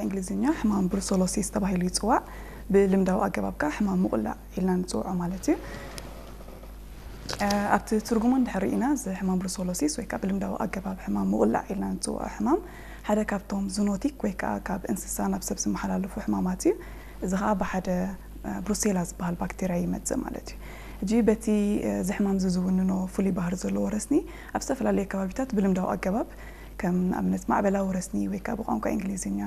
እንግሊዝኛ ሕማም ብሩሰሎሲስ ተባሂሉ ይፅዋዕ። ብልምዳዊ ኣገባብ ከዓ ሕማም ምቑላዕ ኢልና ንፅውዖ ማለት እዩ። ኣብቲ ትርጉሙ እንድሕር ርኢና፣ እዚ ሕማም ብሩሰሎሲስ ወይ ከዓ ብልምዳዊ ኣገባብ ሕማም ምቑላዕ ኢልና ንፅውዖ ሕማም ሓደ ካብቶም ዙኖቲክ ወይ ከዓ ካብ እንስሳ ናብ ሰብ ዝመሓላለፉ ሕማማት እዩ። እዚ ከዓ ብሓደ ብሩሴላ ዝበሃል ባክቴርያ ይመፅእ ማለት እዩ። እጂ በቲ እዚ ሕማም እዚ ዝውንኖ ፍሉይ ባህሪ ዘለዎ ረስኒ ኣብ ዝተፈላለዩ ከባቢታት ብልምዳዊ ኣገባብ ከም ንኣብነት ማዕበላዊ ረስኒ ወይ ከዓ ብቋንቋ እንግሊዝኛ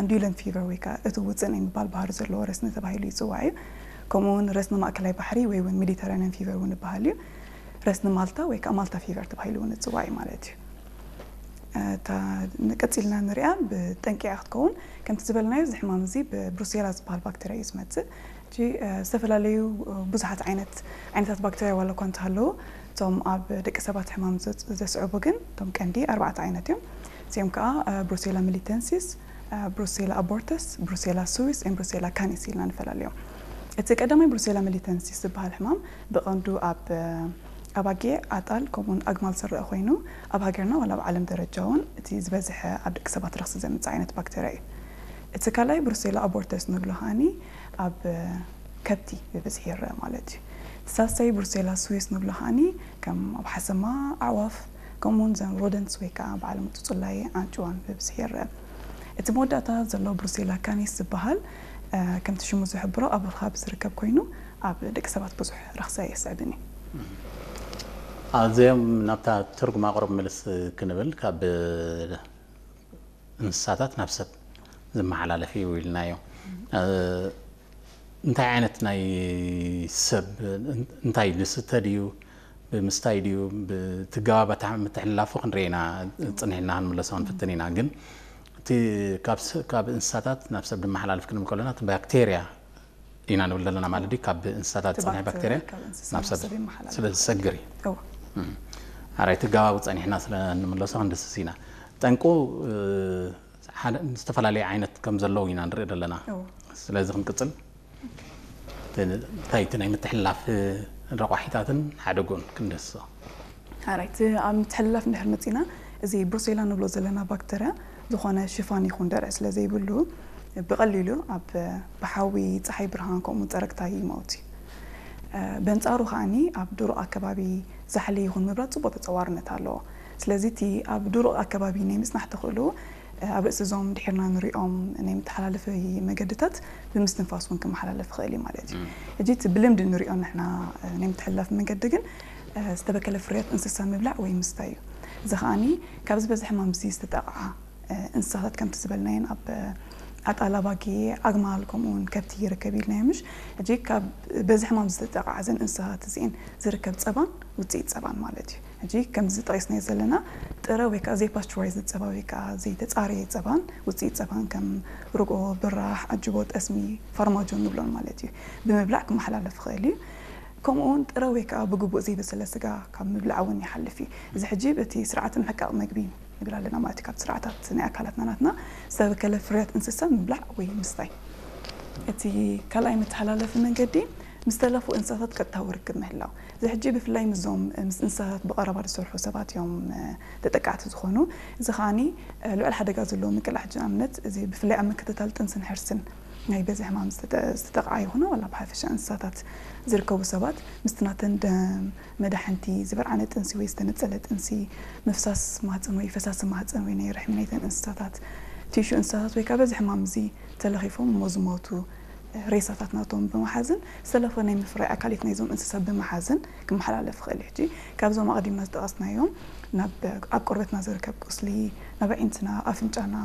ኣንዱለን ፊቨር ወይ ከዓ እቲ ውፅእ ናይ ምባል ባህሪ ዘለዎ ረስኒ ተባሂሉ ይፅዋዕ እዩ። ከምኡ እውን ረስኒ ማእከላይ ባሕሪ ወይ እውን ሜዲተራኒያን ፊቨር እውን ይበሃል እዩ። ረስኒ ማልታ ወይ ከዓ ማልታ ፊቨር ተባሂሉ እውን ይፅዋዕ እዩ ማለት እዩ። እታ ንቀፂልና ንሪኣ ብጠንቂኣ ክትከውን ከምቲ ዝበልናዮ እዚ ሕማም እዚ ብብሩሴላ ዝበሃል ባክተርያ እዩ ዝመፅእ። እጂ ዝተፈላለዩ ብዙሓት ዓይነት ዓይነታት ባክተርያ ዋላ እኳ እንተሃለዉ እቶም ኣብ ደቂ ሰባት ሕማም ዘስዕቡ ግን እቶም ቀንዲ ኣርባዕተ ዓይነት እዮም። እዚኦም ከዓ ብሩሴላ ሚሊተንሲስ፣ ብሩሴላ ኣቦርተስ፣ ብሩሴላ ስዊስ ን ብሩሴላ ካኒስ ኢልና ንፈላለዮም። እቲ ቀዳማይ ብሩሴላ ሚሊተንሲስ ዝበሃል ሕማም ብቐንዱ ኣብ ኣባጊዕ፣ ኣጣል ከምኡውን ኣግማል ዝረአ ኮይኑ ኣብ ሃገርና ዋላ ኣብ ዓለም ደረጃ እውን እቲ ዝበዝሐ ኣብ ደቂ ሰባት ረኽሲ ዘምፅእ ዓይነት ባክተርያ እዩ። እቲ ካልኣይ ብሩሴላ ኣቦርተስ ንብሎ ከዓኒ ኣብ ከብቲ ብብዝሒ ይረአ ማለት እዩ። ሳልሳይ ብሩሴላ ስዊስ ንብሎ ከዓኒ ከም ኣብ ሓሰማ፣ ኣዕዋፍ ከምኡውን ዘን ሮደንትስ ወይ ከዓ በዓል ምጡፅላይ ኣንጭዋን ብብዝሒ ይረአ። እቲ መወዳእታ ዘሎ ብሩሴላ ካኒስ ዝበሃል ከምቲ ሽሙ ዝሕብሮ ኣብ ርኻብ ዝርከብ ኮይኑ ኣብ ደቂ ሰባት ብዙሕ ረኽሲ ኣየስዕብን እዩ። ኣዚኦም ናብታ ትርጉም ኣቕርብ ምልስ ክንብል ካብ እንስሳታት ናብ ሰብ ዝመሓላለፍ እዩ ኢልናዮ። እንታይ ዓይነት ናይ ሰብ እንታይ ዝስተ ድዩ ብምስታይ ድዩ ብትገባባታ ምትሕልላፉ ክንርኢ ኢና። ፅንሕ ኢልና ክንምለሶ ክንፍትን ኢና። ግን እቲ ካብ እንስሳታት ናብ ሰብ ዝመሓላለፍ ክንብል ከለና እቲ ባክቴርያ ኢና ንብል ዘለና ማለት ድዩ ካብ እንስሳታት ዝፀንሐ ባክቴርያ ናብ ሰብ ስለ ዝሰግር እዩ። ኣራይ ትገባቡ ፀኒሕና ስለ እንምለሶ ክንድስስ ኢና። ጠንቁ ዝተፈላለዩ ዓይነት ከም ዘለዉ ኢና ንርኢ ዘለና። ስለዚ ክንቅፅል እንታይ እቲ ናይ ምትሕልላፍ ረቋሒታትን ሓደጎን ክንደስሶ። ሓራይቲ ኣብ ምትሕልላፍ እንድሕር መፂና እዚ ብሩሴላ ንብሎ ዘለና ባክተርያ ዝኾነ ሽፋን ይኹን ደርዕ ስለ ዘይብሉ ብቐሊሉ ኣብ ብሓዊ፣ ፀሓይ ብርሃን ከምኡ ፀረግታ ይመውት እዩ። በንፃሩ ከዓኒ ኣብ ድሩቕ ኣከባቢ ዛሕሊ ይኹን ምብራድ ፅቡቕ ተፀዋርነት ኣለዎ። ስለዚ እቲ ኣብ ድሩቕ ኣከባቢ ናይ ምፅናሕ ተኽእሎ ኣብ ርእሲ እዞም ድሒርና ንሪኦም ናይ መተሓላለፊ መገድታት ብምስትንፋስ እውን ክመሓላለፍ ይኽእል እዩ ማለት እዩ። ሕጂ እቲ ብልምዲ ንሪኦ ንሕና ናይ ምትሕልላፍ መንገዲ ግን ዝተበከለ ፍርያት እንስሳ ምብላዕ ወይ ምስታይ እዩ። እዚ ከዓኒ ካብ ዝበዝሐ ሕማም እዚ ዝተጠቕዓ እንስሳታት ከምቲ ዝበልናየን ኣብ ኣጣል ኣባጊዕ፣ ኣግማል ከምኡ እውን ከብቲ ይርከብ ኢልናዮ ምሽ? ሕጂ ካብ በዚ ሕማም ዝተጠቕዓ እዘን እንስሳታት እዚኤን ዝርከብ ፀባን ውፅኢት ፀባን ማለት እዩ። ሕጂ ከምዚ ጠቒስናዮ ዘለና ጥረ ወይ ከዓ ዘይፓስቸራይዝ ፀባ ወይ ከዓ ዘይተፃረየ ፀባን ውፅኢት ፀባን ከም ርጎ፣ ብራሕ፣ ኣጅቦ፣ ጠስሚ፣ ፋርማጆ ንብሎን ማለት እዩ ብምብላዕ ክመሓላለፍ ይኽእል እዩ። ከምኡ እውን ጥረ ወይ ከዓ ብግቡእ ዘይበሰለ ስጋ ካብ ምብላዕ እውን ይሓልፍ እዩ። እዚ ሕጂ በቲ ስርዓተ ምሕቃቕ መግቢ ንብል ኣለና ማለት እዩ። ካብቲ ስርዓታት ናይ ኣካላትና ናትና ዝተበከለ ፍርያት እንስሳ ምብላዕ ወይ ምስታይ። እቲ ካልኣይ መተሓላለፊ መንገዲ ምስ ተለፉ እንስሳታት ቀጥታዊ ርክብ ምህላው። እዚ ሕጂ ብፍላይ ምስዞም ምስ እንስሳታት ብቐረባ ዝሰርሑ ሰባት እዮም ተጠቃዕቲ ዝኾኑ። እዚ ከዓኒ ልዑል ሓደጋ ዘለዎ ምቅላሕ ሕጂ ንኣብነት እዚ ብፍላይ ኣብ ምክትታል ጥንስን ሕርስን ናይ በዚ ሕማም ዝተጠቕዓ ይኹና ዋላ ብሓፈሻ እንስሳታት ዝርከቡ ሰባት ምስቲ ናተን ደም፣ መዳሕንቲ፣ ዝበርዓነ ጥንሲ ወይ ዝተነጸለ ጥንሲ፣ ምፍሳስ ማህጸን ወይ ፈሳሲ ማህጸን ወይ ናይ ርሕሚ ናይተን እንስሳታት፣ ቲሹ እንስሳታት ወይ ከዓ በዚ ሕማም እዚ ተለኺፎም እሞ ዝሞቱ ሬሳታት ናቶም ብምሓዝን ዝተለፈ ናይ ምፍራይ ኣካሊት ናይዞም እንስሳ ብምሓዝን ክመሓላለፍ ይኽእል እዩ። ሕጂ ካብዞም ኣቐዲምና ዝጠቐስናዮም ናብ ኣብ ቆርበትና ዝርከብ ቁስሊ፣ ናብ ኣዒንትና፣ ኣፍንጫና፣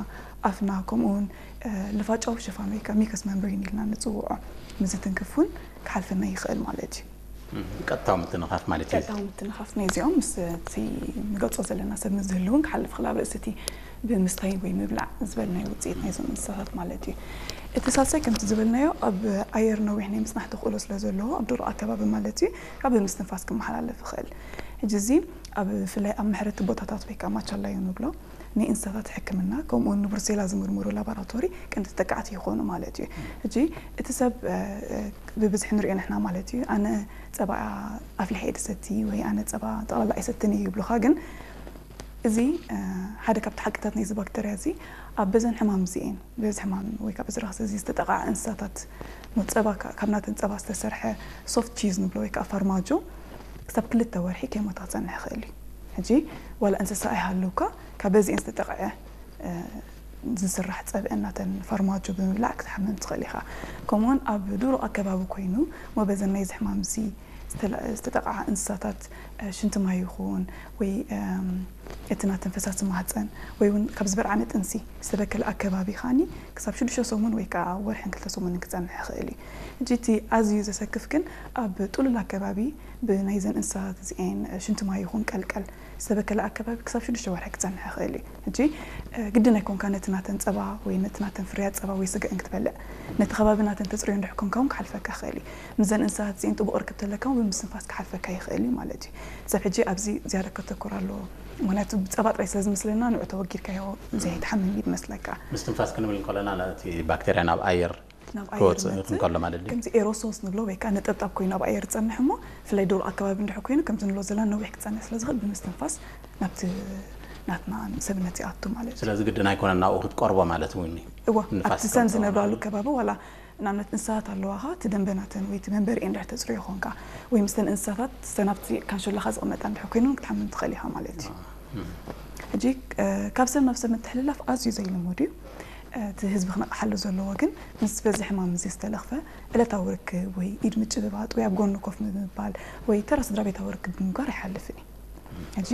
ኣፍና ከምኡ እውን ልፋጫዊ ሽፋን ወይ ከዓ ሚከስ መምብሬን ኢልና ንፅውዖ ምስ ዝትንክፍ እውን ክሓልፈና ይኽእል ማለት እዩ። ቀጥታዊ ምትንኻፍ ማለት እዩ። ቀጥታዊ ምትንኻፍ ናይ እዚኦም ምስ እቲ ንገልፆ ዘለና ሰብ ምስ ዝህሉ እውን ክሓልፍ ይኽእል ኣብ ርእሲ እቲ ብምስታይ ወይ ምብላዕ ዝበልናዮ ውፅኢት ናይዞም እንስሳታት ማለት እዩ። እቲ ሳልሳይ ከምቲ ዝበልናዮ ኣብ ኣየር ነዊሕ ናይ ምፅናሕ ተኽእሎ ስለ ዘለዎ ኣብ ድሩቕ ኣከባቢ ማለት እዩ ካብ ብምስትንፋስ ክመሓላለፍ ይኽእል። ሕጂ እዚ ኣብ ብፍላይ ኣብ መሕረቲ ቦታታት ወይ ከዓ ማቻላዮ ንብሎ ናይ እንስሳታት ሕክምና ከምኡ እውን ንብሩሴላ ዝምርምሩ ላቦራቶሪ ቀንዲ ተጠቃዕቲ ይኾኑ ማለት እዩ። ሕጂ እቲ ሰብ ብብዝሒ ንሪኦ ንሕና ማለት እዩ ኣነ ፀባ ኣፍሊሐ እየ ድሰቲ ወይ ኣነ ፀባ ጠቕላላ ኣይሰትን እየ ይብሉኻ ግን እዚ ሓደ ካብቲ ሓቅታት ናይዚ ባክተርያ እዚ ኣብ በዘን ሕማም እዚኤን በዚ ሕማም ወይ ከዓ በዚ ረኽሲ እዚ ዝተጠቓዓ እንስሳታት ጸባ ካብ ናተን ጸባ ዝተሰርሐ ሶፍት ቺዝ ንብሎ ወይ ከዓ ፋርማጆ ክሳብ ክልተ ወርሒ ከይሞታ ክፀንሕ ይኽእል እዩ። ሕጂ ዋላ እንስሳ ኣይሃለውካ ካብ በዚኤን ዝተጠቕዐ ዝስራሕ ፀብአ ናተን ፋርማጆ ብምብላዕ ክትሓምም ትኽእል ኢኻ። ከምኡውን ኣብ ድሩቕ ኣከባቢ ኮይኑ መበዘን ናይዚ ሕማም እዚ ዝተጠቕዓ እንስሳታት ሽንቲ ማይ ይኹን ወይ እቲ ናተን ፈሳሲ ማህፀን ወይ እውን ካብ ዝበልዓነ ጥንሲ ዝተበከለ ኣከባቢ ከዓኒ ክሳብ ሽዱሽተ ሰሙን ወይ ከዓ ወርሕን ክልተ ሰሙንን ክፀንሕ ይኽእል እዩ። ሕጂ እቲ ኣዝዩ ዘሰክፍ ግን ኣብ ጥሉል ኣከባቢ ብናይዘን እንስሳታት እዚኤን ሽንቲ ማይ ይኹን ቀልቀል ዝተበከለ ኣከባቢ ክሳብ ሽዱሽተ ወርሒ ክፀንሕ ይኽእል እዩ። ሕጂ ግድን ኣይኮንካ ነቲ ናተን ፀባ ወይ ነቲ ናተን ፍርያት ፀባ ወይ ስጋኤን ክትበልዕ ነቲ ከባቢ ናተን ተፅርዮ እንድሕር ኮንካ እውን ክሓልፈካ ይኽእል እዩ። ምስዘን እንስሳታት እዚኤን ጥቡቕ ርክብ ተለካ እውን ብምስትንፋስ ክሓልፈካ ይኽእል እዩ ማለት እዩ። ሰብ ሕጂ ኣብዚ ዝያዳ ከተኩር ኣለዎ። ምክንያቱ ብፀባ ጥራይ ስለ ዝመስለና ንዑ ተወጊድካዮ ዘይትሓምም እዩ ዝመስለካ። ምስትንፋስ ክንብል እንከለና ነቲ ባክተርያ ናብ ኣየር ናብ ኣየር ክወፅእ መፅእ እንከሎ ማለት ድዩ? ከምዚ ኤሮሶልስ ንብሎ ወይ ከዓ ነጠብጣብ ኮይኑ ኣብ ኣየር ዝፀንሕ እሞ ብፍላይ ዶሮ ኣከባቢ እንድሕር ኮይኑ ከምዚ ንብሎ ዘለና ነዊሕ ክፀንሕ ስለ ዝኽእል ብምስትንፋስ ናብቲ ናትና ሰብነት ይኣቱ ማለት እዩ። ስለዚ ግድን ኣይኮነን ናብኡ ክትቀርቦ ማለት እውን እዩ። እዋ ንፋስ ኣብቲ ሰን ክትቀርቦ ዝነብራሉ ማለት ከባቢ ዋላ ንኣብነት እንስሳት ኣለዋኻ እቲ ደንበናተን ወይ እቲ መንበሪኤን ድሕር ተፅርዮ ኾንካ ወይ ምስተን እንስሳታት ሰናብቲ ካንሸላኻ ዝቕመጣ እንድሕር ኮይኖም ክትሓምም ትኽእል ኢኻ ማለት እዩ። ሕጂ ካብ ሰብ ናብ ሰብ ምትሕልላፍ ኣዝዩ ዘይልሙድ እዩ። እቲ ህዝቢ ክነቕሓሉ ዘለዎ ግን ምስ በዚ ሕማም እዚ ዝተለኽፈ ዕለታዊ ርክብ ወይ ኢድ ምጭብባጥ ወይ ኣብ ጎኒ ኮፍ ምባል ወይ ተራ ስድራ ቤታዊ ርክብ ብምግባር ኣይሓልፍን እዩ። ሕጂ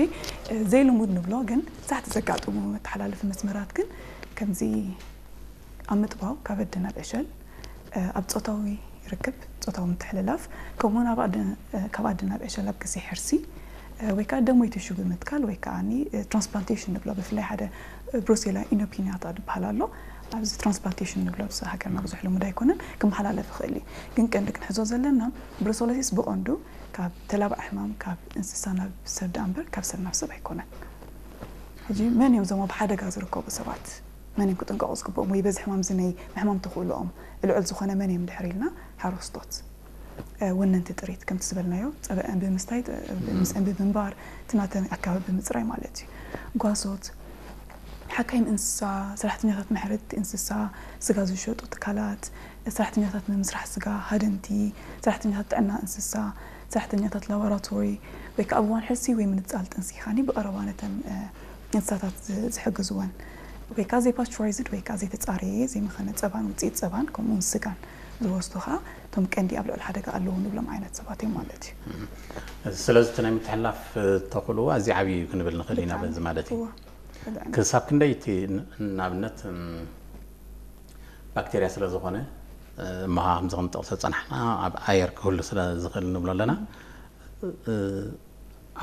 ዘይልሙድ ንብሎ ግን ብዛሕቲ ዘጋጥሙ መተሓላለፊ መስመራት ግን ከምዚ ኣብ ምጥባው ካብ ኣደ ናብ ዕሸል፣ ኣብ ፆታዊ ርክብ ፆታዊ ምትሕልላፍ ከምኡውን ኣብ ኣደ ካብ ኣደ ናብ ዕሸል ኣብ ግዜ ሕርሲ ወይ ከዓ ደም ወይ ቲሹ ብምትካል ወይ ከዓ ትራንስፕላንቴሽን ንብሎ ብፍላይ ሓደ ብሩሴላ ኢኖፒናታ ዝበሃል ኣሎ ኣብዚ ትራንስፕላንቴሽን ንብሎ ኣብዚ ሃገርና ብዙሕ ልሙድ ኣይኮነን ክመሓላለፍ ይኽእል እዩ ግን ቀንዲ ክንሕዞ ዘለና ብሩሰሎሲስ ብቐንዱ ካብ ተላባዕ ሕማም ካብ እንስሳ ናብ ሰብ ደኣ እምበር ካብ ሰብ ናብ ሰብ ኣይኮነን ሕጂ መን እዮም እዞም ኣብ ሓደጋ ዝርከቡ ሰባት መን እዮም ክጥንቀቑ ዝግብኦም ወይ በዚ ሕማም እዚ ናይ ምሕማም ተኽእልኦም ልዑል ዝኾነ መን እዮም ድሕር ኢልና ሓረስቶት ወነንቲ ጥሪት ከምቲ ዝበልናዮ ፀበአን ብምስታይ ምስአን ብምንባር እቲ ናተን ኣከባቢ ብምፅራይ ማለት እዩ ጓሶት ሓካይም እንስሳ ሰራሕተኛታት መሕረድቲ እንስሳ ስጋ ዝሸጡ ትካላት ሰራሕተኛታት ምምስራሕ ስጋ ሃደንቲ ሰራሕተኛታት ጥዕና እንስሳ ሰራሕተኛታት ላቦራቶሪ ወይ ከዓ ኣብ እዋን ሕርሲ ወይ ምንፃል ጥንሲ ካኒ ብቐረባ ነተን እንስሳታት ዝሕግዝወን ወይ ከዓ ዘይፓስቸራይዝድ ወይ ከዓ ዘይተፃረየ ዘይመኸነ ፀባን ውፅኢት ፀባን ከምኡውን ስጋን ዝወስዱ ከዓ እቶም ቀንዲ ኣብ ልዕሊ ሓደጋ ኣለዉ ንብሎም ዓይነት ሰባት እዮም ማለት እዩ። ስለዚ እቲ ናይ ምትሕልላፍ ተኽእልኡ ኣዝዩ ዓብዪ እዩ ክንብል ንኽእል ኢና በዚ ማለት እዩ። ክሳብ ክንደይ እቲ ንኣብነት ባክቴርያ ስለ ዝኾነ እሞ ከምዚ ክንጠቕሶ ዝፀናሕና ኣብ ኣየር ክህሉ ስለ ዝኽእል ንብሎ ኣለና።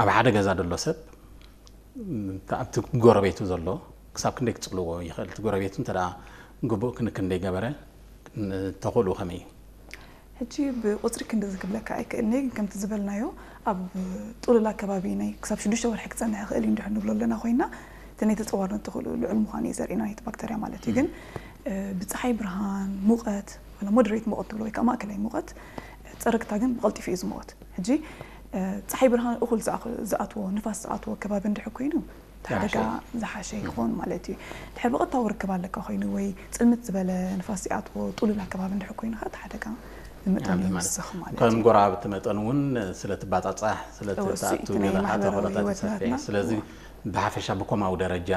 ኣብ ሓደ ገዛ ዘሎ ሰብ ኣብቲ ጎረቤቱ ዘሎ ክሳብ ክንደይ ክፅልዎ ይኽእል? እቲ ጎረቤቱ እንተ ግቡእ ክንክን ዘይገበረ ተኽእልኡ ከመይ እዩ? ሕጂ ብቁፅሪ ክንድዚ ክብለካ ኣይክእልንየ ግን ከምቲ ዝበልናዮ ኣብ ጥሉል ኣከባቢ ናይ ክሳብ ሽዱሽተ ወርሒ ክፀንሕ ይኽእል እዩ እንድሕር ንብሎ ኣለና ኮይና እቲ ናይ ተፀዋርነት ተኽእልኡ ልዑል ምዃኑ እዩ ዘርእና ናይቲ ባክተርያ ማለት እዩ ግን ብፀሓይ ብርሃን ሙቐት ወላ ሞደሬት ሙቐት ትብሎ ወይ ከዓ ማእከላይ ሙቐት ፀረግታ ግን ብቐልጢፉ እዩ ዝመወት ሕጂ ፀሓይ ብርሃን እኹል ዝኣትዎ ንፋስ ዝኣትዎ ከባቢ እንድሕር ኮይኑ እቲ ሓደጋ ዝሓሸ ይኸውን ማለት እዩ። ድሕር ብቐጥታዊ ርክብ ኣለካ ኮይኑ ወይ ፅልምት ዝበለ ንፋስ ይኣትዎ ጥሉል ኣከባቢ እንድሕር ኮይኑ ከዓ እቲ ሓደጋ ብመጠኑ ይወስኽ ማለት እዩ። ከም ጎረባብቲ መጠን እውን ስለ ትባፃፃሕ ስለ ትኣቱ ገዛኻ ተኽእሎታት ይሰፍሕ። ስለዚ ብሓፈሻ ብኮማዊ ደረጃ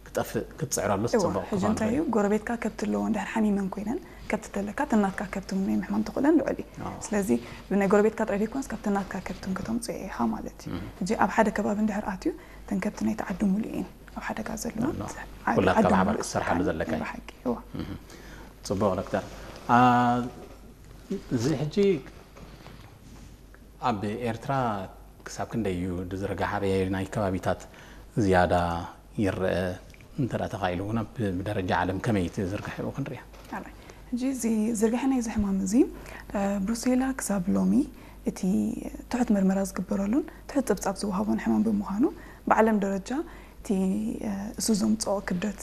ክጠፍእ ክትፅዕረሉ ዝፅበቕ ክኸውን እንታይ እዩ። ጎረቤትካ ከብቲ ኣለዎ እንድሕር ሓሚመን ኮይነን ከብቲ ተለካ ተናትካ ከብቲ ናይ ምሕማም ተኽእለን ልዑል እዩ። ስለዚ ብናይ ጎረቤትካ ጥራይ ዘይኮነስ ካብ ተናትካ ከብትን ከተምፅኦ ኢኻ ማለት እዩ። ሕጂ ኣብ ሓደ ከባቢ እንድሕር ኣትዩ እተን ከብቲ ናይቲ ዓዲ ሙሉእ እየን ኣብ ሓደጋ ዘለዋ። ኩላትካ ብሓባር ክትሰርሓሉ ዘለካ እዩ። ፅቡቕ ዶክተር። እዚ ሕጂ ኣብ ኤርትራ ክሳብ ክንደይ እዩ ዝዝርጋሕ? ኣበየናይ ከባቢታት ዝያዳ ይረአ? እንተ ተኻኢሉ እውን ብደረጃ ዓለም ከመይ እቲ ዝርግሐኡ ክንሪኣ? ሕጂ እዚ ዝርግሐ ናይዚ ሕማም እዚ ብሩሴላ ክሳብ ሎሚ እቲ ትሑት መርመራ ዝግበረሉን ትሑት ፀብፃብ ዝወሃቦን ሕማም ብምዃኑ ብዓለም ደረጃ እቲ እሱ ዘምፅኦ ክብደት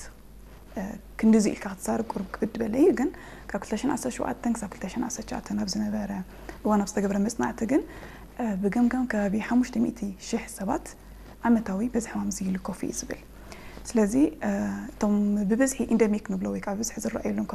ክንድዚ ኢልካ ክትዛረብ ቁሩብ ክብድ በለ እዩ ግን ካብ ክልተ ሽሕን ዓሰርተ ሸውዓተን ክሳብ ክልተ ሽሕን ዓሰርተ ትሽዓተን ኣብ ዝነበረ እዋን ኣብ ዝተገብረ መፅናዕቲ ግን ብገምጋም ከባቢ ሓሙሽተ ሚእቲ ሽሕ ሰባት ዓመታዊ በዚ ሕማም እዚ ይልከፉ እዩ ዝብል። ስለዚ እቶም ብብዝሒ ኢንደሚክ ንብሎ ወይ ከዓ ብብዝሒ ዝረኣየሎም